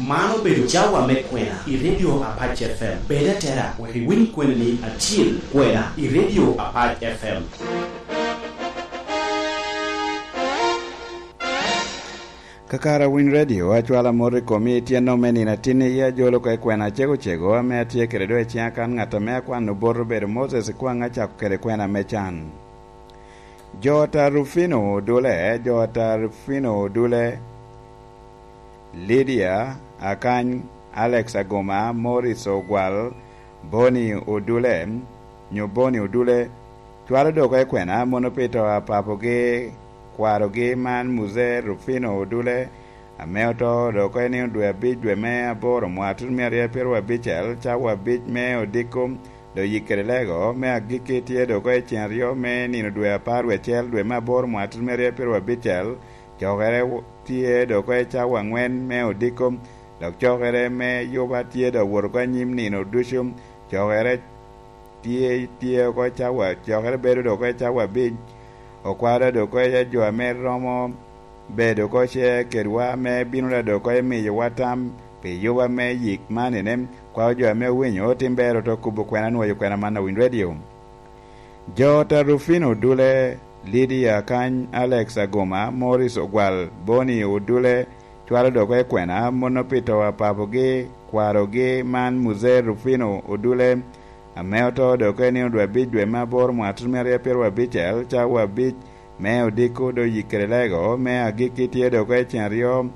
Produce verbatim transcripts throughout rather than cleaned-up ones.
Man obedo cawa me kwena i Radio Apac F M. Bed atera wek iwiny kweni-ni acil, kwena i Radio Apac F M. Kakare Winy Radio, acwalo amot i komi i tyenno me nino atin i ajolo oko i kwena acego cego ame atye kede do i ciŋa kan ŋat ame akwano bot obedo Moses Kwaŋ acako kede kwena me can. Jo ta Rufino Odule, jo ta Rufino Odule, Lydia Akany, Alex Agoma, Morris Ogwal, Boni Odule, nyo Boni Odule, cwalo dok oko i kwena mono pi to a papogi, kwarogi man Muzee Rufino Odule, ame oto dok oko i nino dwe abic dwe me aboro mwaka tutumia aryo pyeraryo abicel, cawa abic me odiko, dok yik kede lego me agikki tye dok oko i cen aryo me nino dwe apar wie acel dwe me aboro mwaka tutumia aryo pyeraryo abicel, cokere w-, tye dok oko i cawa aŋwen me odiko, dok cokere me yuba tye dok wot oko anyim nino ducu, cokere tye, tye oko i cawa, cokere bedo dok oko i cawa abic, okwara dok oko i jo ame romo bedo oko ce kedwa ame bino da dok oko i miyowa tam pi yuba me yik man ene, kwao jo ame owinyo otim bero to kubo kwena nwoyo kwena man a Winy Radio. Jo ta Rufino Odule, Lydia Akany, Alex Agoma, Morris Ogwal, Boni Odule, cwalo dok oko i kwena mono pi to a papogi, kwarogi man Muzee Rufino Odule, ame oto dok oko i nino dwe abic dwe me aboro mwaka tutumia aryo pyeraryo abicel, cawa abic me odiko dok yik kede lego me agikki tye dok oko i cen aryo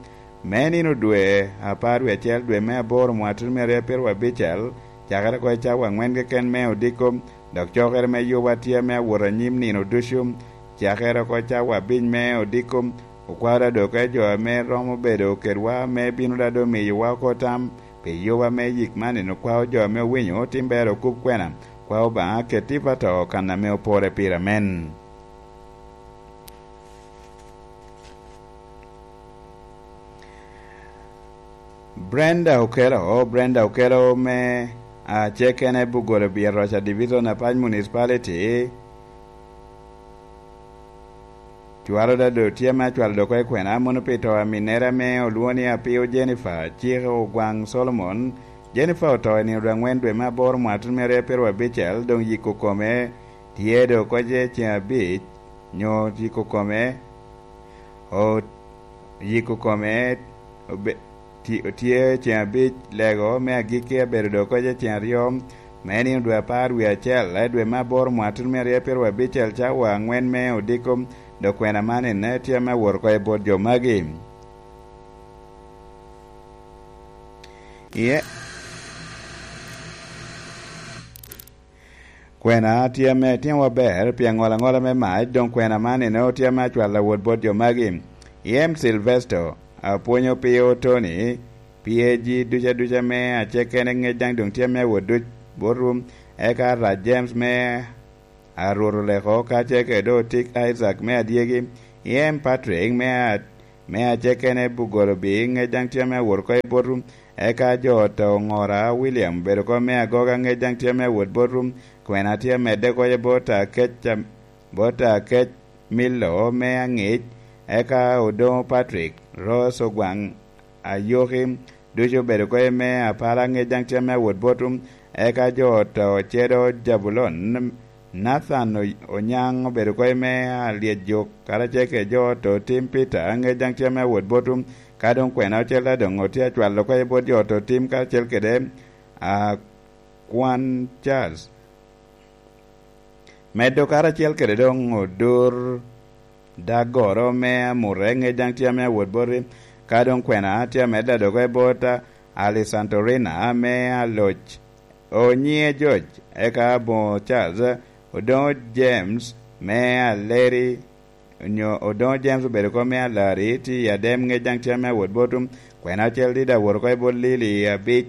me nino dwe apar wie acel dwe me aboro mwaka tutumia aryo pyeraryo abicel, cakere oko i cawa aŋwen keken me odiko, dok cokere me yuba tye ame awot anyim nino ducu, cakere oko cawa abic me odiko, okwara dok oko i jo ame romo bedo kedwa ame bino da dok miyowa oko tam pi yuba me yik man eno, kwao jo ame owinyo otim bero okub kwena, kwao Obaŋa ket tipo ato kan ame opore pire. Amen. Brenda Okelo, Brenda Okelo me, ah, Acekene Bugolo Byer Roca Division, Apac Municipality, cwalo da do tye me acwalo dok oko i kwena mono pi to a minnere ame olwoŋo ni Apio Jennifer, Cik Ogwaŋ Solomon. Jennifer oto i nino dwe aŋwen dwe me aboro mwaka tutumia aryo pyeraryo abicel, doŋ yiko kome tye dok oko ce ceŋ abic, nyo yiko kome, o-, yiko kome obe-, ti-, tye ceŋ abic, lego me agikki abedo dok oko ce ceŋ aryo, me nino dwe apar wie acel, eh, dwe me aboro mwaka tutumia aryo pyeraryo abicel, cawa aŋwen me odiko, dok kwena man ene tye ame awot oko i bot jo magi. Iye. Kwena tye ame timowa ber pi aŋola aŋola me mac, doŋ kwena man ene tye ame acwalo awot bot jo magi. I M Silvesto, apwonyo Pio Tony, P A G duca duca me Acekene ŋec daŋ doŋ tye ame awot duc botwu, eka Rac James me Arwot Oleko, kacel kede Otik Isaac me Adyegi, I M Patrick me a-, me Acekene Bugolo Bi, ŋec daŋ tye ame awot oko i botwu, eka jo ot Oŋora William obedo oko me Agoga, ŋec daŋ tye ame awot botwu, kwena tye amedde oko i bot Akec, bot Akec Milo me Aŋic, eka Odoŋo Patrick, Rose Ogwaŋ, Ayoki, ducu obedo oko i me Apala, ŋec daŋ tye ame awot botwu, eka jo ot Ocedo Jabulon, Nathan O-, Onyaŋ obedo oko i me Alyejok, karacel kede jo ot Otim Peter, ŋec daŋ tye ame awot botwu, ka doŋ kwena ocel daŋ doŋ otye acwalo oko i bot jo ot Otim karacel kede, a, Kwan Charles. Medo karacel kede doŋ Odur Dagoro me Amure, ŋec daŋ tye ame awot boti, ka doŋ kwena tye amedde adoko i bot Alisantorina me Aloc, Onyiŋe George, eka Aboŋo Charles, Odoŋo James me Aleri, onyo Odoŋo James obedo oko me Alari, tye i Adem, ŋec daŋ tye ame awot botwu, kwena ocel dida awot oko i bot Lili abic,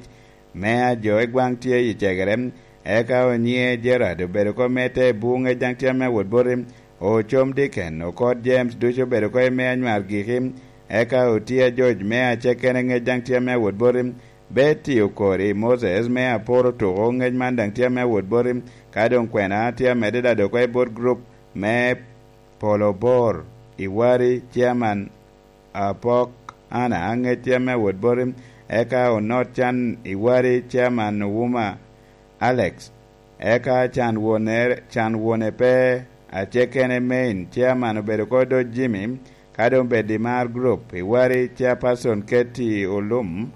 me ajo i gwaŋ tye i cegere, eka Onyiŋe Gerard obedo oko me te Buŋe daŋ tye ame awot boti, Ocom Diken, Okot James ducu obedo oko i me Anywar Giki, eka Otia George me Acekene ŋec daŋ tye ame awot boti, Betty Okori Moses me Aporo Tuko ŋec man daŋ tye ame awot boti, ka doŋ kwena tye amedde daŋ dok oko i bot gurup me Polo Bor, Iwari, Chairman Apok Ana, ŋec tye ame awot boti, eka onot can i wari, Chairman Ouma Alex, eka can wone, can wone pe, acekene Main Chairman obedo ko do Jimmy, ka doŋ bed i mar group i wari, Chairperson Katie Olum,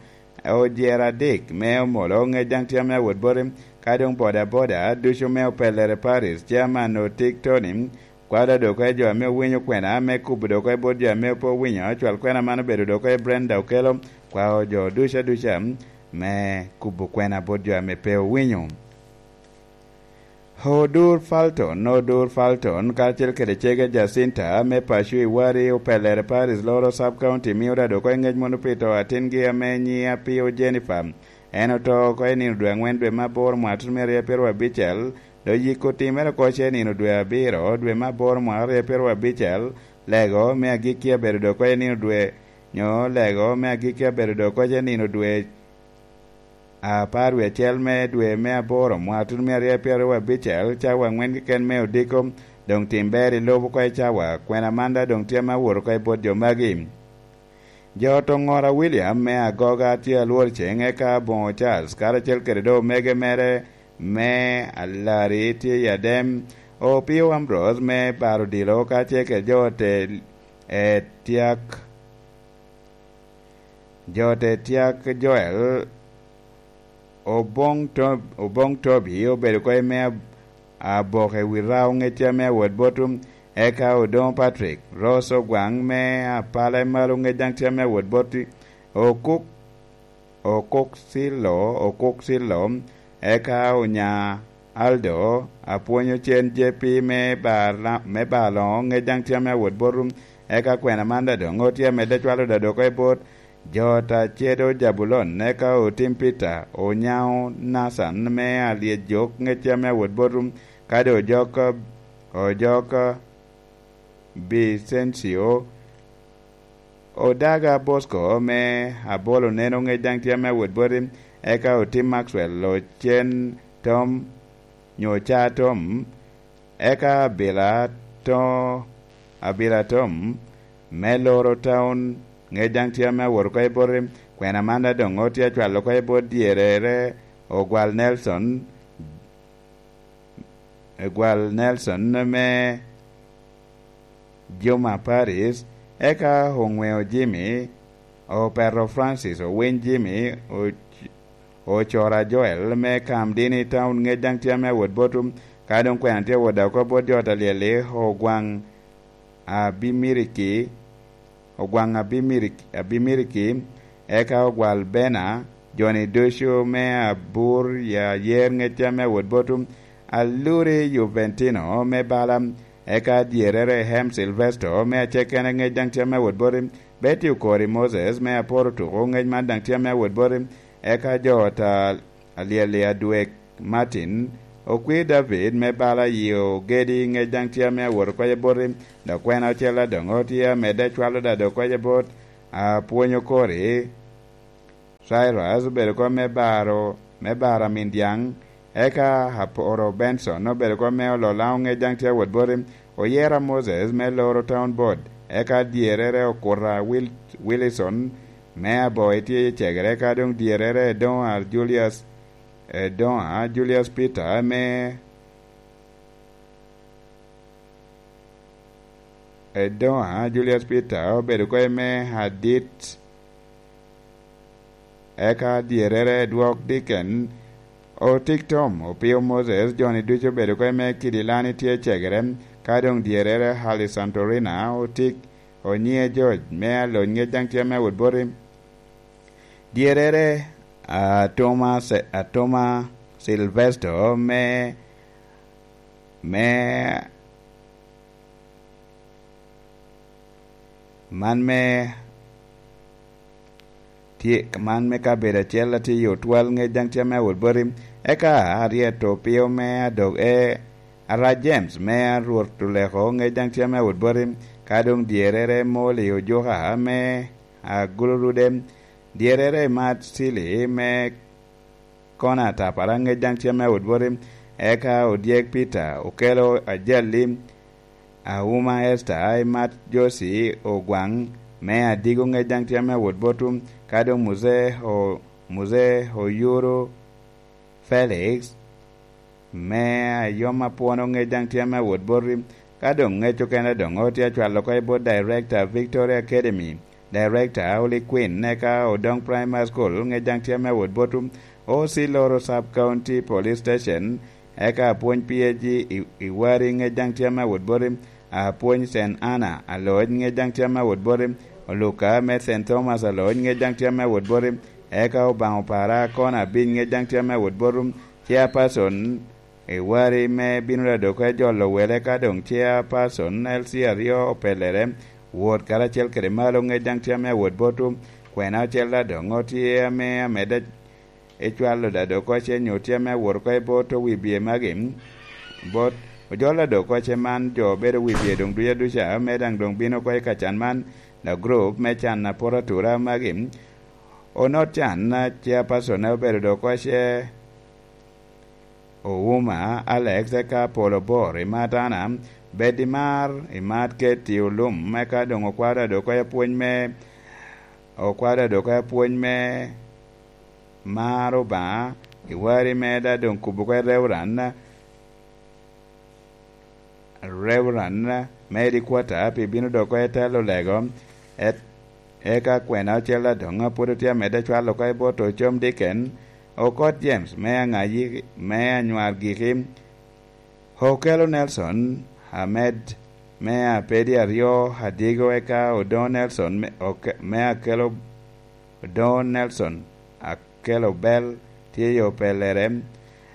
ojera adik me omolo ŋec daŋ tye ame awot boti, ka doŋ boda boda ducu me opellere Paris, Chairman Otik Tony, kwalo dok i jo ame owinyo kwena, me kubo dok i bot jo ame pe owinyo, cwal kwena man obedo dok i Brenda Okello, kwao jo ducu aduca me kubo kwena bot jo ame pe owinyo. Odur Falton, Odur Falton, kacel kede cege Jacinta me paco i wari, opellere Paris loro Sub County, mio da dok i ŋec mono pi to atingi ame nyiŋe apio Jennifer. En oto oko i nino dwe aŋwen dwe me aboro mwaka tutumia aryo pyero abicel, dok yiko timmere oko ce i nino dwe abiro dwe me aboro mwaka aryo pyero abicel, lego me agikki abedo dok i nino dwe, nyo lego me agikki abedo dok i nino dwe apar wie acel me dwe me aboro mwaka tutumia aryo pyero abicel, cawa aŋwen keken me odiko, doŋ tim ber i lobo oko i cawa, kwena man da doŋ tye ame awot oko i bot jo magi. Jo ot oŋora William me agoga tye alwor ceŋ, eka aboŋo Charles, karacel kede doŋ omege mere me alari tye i Adem, Opio Ambrose me baro odilo, kacel kede jo ot e, e tyak, jo ot e tyak Joel, Oboŋ To-, Oboŋ Tobi obedo ko i me ab-, aboke wi rao ŋecce ame awot botum, eka Odoŋo Patrick, Rose Ogwaŋ me apala i malo ŋec daŋ tye ame awot boti, Okuk, Okuk Cilo, Okuk Cilo, eka Onya Aldo, apwonyo cen J P me bar la-, me bar loŋo ŋec daŋ tye ame awot botum, eka kwena man da doŋ otye amedde cwalo da doko i bot, Jo ta cedo Jabulon, eka otim Peter, Onyaŋo Nathan me alyec jok ŋecce ame awot botum, kadi ojok, ojok Bicencio, Odaga Bosco me abolo neno ŋec daŋ tye ame awot boti, eka otim Maxwell ocen Tom, nyo ca Tom, eka abila to, abila Tom me loro taun, ŋec daŋ tye ame awot oko i boti, kwena man da doŋ otye acwalo oko i bot dyerere, Ogwal Nelson, Ogwal Nelson me Juma Paris, eka oŋweo Jimmy, opeto Francis, owiny Jimmy, o-, ocora Joel me Kam Dini Town, ŋec daŋ tye ame awot botum, ka doŋ kwena tye awot oko bot jo ot alyel-li, Ogwaŋ Abimiriki, Ogwaŋ Abimiriki, Abimiriki, eka Ogwal Bena, joni ducu me Abur ya yer ŋec tye ame awot botum, Aluri Juventino me bala, eka dyerere Hem Silvesto me acekene ŋec daŋ tye ame awot boti, Betty Okori Moses me Aporo Tuko ŋec man daŋ tye ame awot boti, eka jo ot a alyel i adwek Martin, okwir David me bala i ogedi ŋec daŋ tye ame awot okwac aboti, dok kwena ocel adoŋo tye amedde cwalo da dok okwac abot, apwonyo kori. Cyrus obedo kom me baro, me baro amin dyaŋ, eka Aporo Benson obedo kom me olo Laŋo ŋec daŋ tye awot boti, oyera Moses me loro Town Board, eka dyerere okuta Wil-, Willison me Aboi tye i cegere, eka doŋ dyerere Edoŋa Julius, Edoŋa Julius Peter me, Edoŋa Julius Peter obedo ko i me adit, eka dyerere Edwok Diken, Otik Tom, Opio Moses, joni ducu obedo ko i me kidi Lani tye cegere, ka doŋ dyerere Hali Santorina, Otik Onyiŋe George, me alony ŋec daŋ tye me awot boti. Dyerere, Atoma Se-, Atoma Silvesto, me, me, man me, tye, man me kabedo acel atye i otwal ŋec daŋ tye me awot boti. Eka aryet Opio me adog e, Ara James me a Rwot Oleko ŋec daŋ tye me awot boti. Ka doŋ dyerere Moli Ojuka me Agulurude, dyerere Mat Cili me Kona Tapara ŋec daŋ tye me awot boti, eka odyek Peter Okelo Ajalli, Auma Esther, Imat Josi Ogwaŋ, me Adigo ŋec daŋ tye ame awot botwu, ka doŋ Muzee O-, Muzee Oyuru Felix, me Ayoma Pwono ŋec daŋ tye ame awot botwu, ka doŋ ŋec okene doŋ otye acwalo oko i bot Director Victoria Academy, Director Holy Queen, eka Odong Primary School ŋec daŋ tye ame awot botwu, O C Loro Sub County Police Station, eka apwony P H G i, i Wari ŋec daŋ tye ame awot boti, apwony Saint Anna Aloc ŋec daŋ tye ame awot boti, Oluka me Saint Thomas Aloc ŋec daŋ tye ame awot boti, eka Obaŋa Opara Akona Abic ŋec daŋ tye ame awot boti, Chairperson i Wari me bino ladok e jolo wele, ka doŋ Chairperson L C aryo opellere, wot karacel kede malo ŋec daŋ tye ame awot botwu, kwena ocel daŋ doŋ otye ame amedde ecwalo ladok kocce nyo tye ame awot oko i bot owibye magi, bot ojol ladok kocce man jo obedo wibye doŋ duca duca, me daŋ doŋ bino oko i kacan man, the group me can a poto atura magi, onot can a Chairperson ne obedo dok kocce Ouma Alex, eka Apolo Bor i Matana, bed i mar, i mar Keti Olum, eka doŋ okwado dok kocce pwony me, okwado dok kocce pwony me mar Obaŋa, i Wari me da doŋ kubo kwe Reverend, Reverend me Edikwata pi bino dok kwe telo lego, et-, eka kwena ocel adoŋ a pwod otye amedde cwalo kwe bot Ocom Dicken, Okot James me Aŋayi me Anywar Giki, Okelo Nelson Amed me Apedi aryo Adigo, eka Odoŋo Nelson me, Oke-, me Akelo, Odoŋo Nelson Akelo Bel tye i opellere,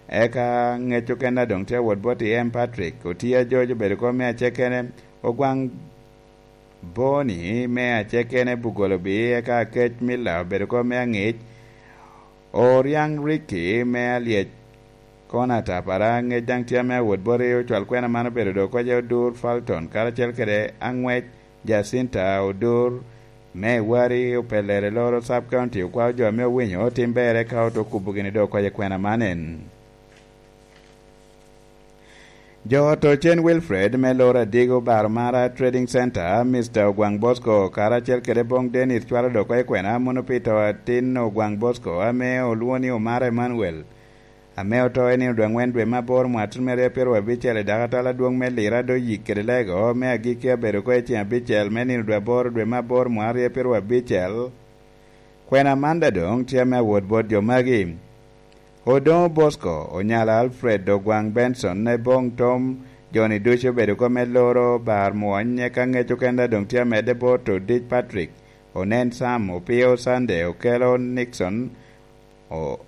eka ŋec okene doŋ tye awot bot i M Patrick, Otia George obedo kom me acekene, Ogwaŋ Boni me acekene Bugolobi, eka Kec Miller obedo kom me aŋic, Oriaŋ Ricky me alyec, Kona Tapara ŋec daŋ tye ame awot boti, ocwal kwena man obedo dok kocce Odur Falton, karacel kede aŋwec Jacinta Odur me Wari opellere loro Sub County, okwao jo ame owinyo tim berre ka oto kubo gini dok kocce kwena man en. Jo ot Ocen Wilfred me loro Adigo Baromara Trading Center, Mister Ogwaŋ Bosco, karacel kede Boŋ Dennis cwalo dok kocce kwena mono pi to atin Ogwaŋ Bosco ame olwoŋo ni Omara Emmanuel, ame oto i nino dwe aŋwen dwe me aboro mwaka atin me aryo pyeraryo abicel i dakatal adwoŋ me Lira Doyik kede Lego me agikki abedo oko i ceŋ abicel me nino dwe aboro dwe me aboro mwaka aryo pyeraryo abicel. Kwena man daŋ doŋ tye ame awot bot jo magi. Odoŋo Bosco, Onyala Alfred, Ogwaŋ Benson, Eboŋ Tom, jo-ni ducu obedo oko me loro bar mwony, eka ŋec okene daŋ doŋ tye amedde bot Odic Patrick, Onen Sam, Opio Sunday, Okelo Nixon, O-,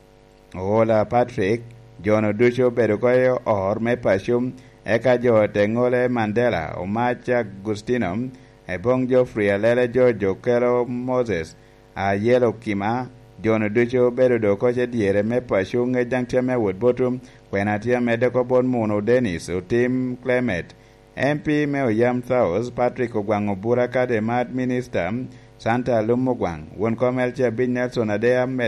Oola Patrick, jo-nu ducu obedo oko i or me paco, eka jo te ŋole Mandela, Omac Agustino, Eboŋ Geoffrey Alele George, Okelo Moses, Ayelo Kima, jo-nu ducu obedo dok oko i dyere me paco, ŋec daŋ tye ame awot botwu, kwena tye amedde oko bot Muno Dennis, Otim Clement, M P me Oyam South, Patrick Ogwaŋ Obura, Kademat Minister, Santa Alum Ogwaŋ, won kom L C Abic Nelson Adea, med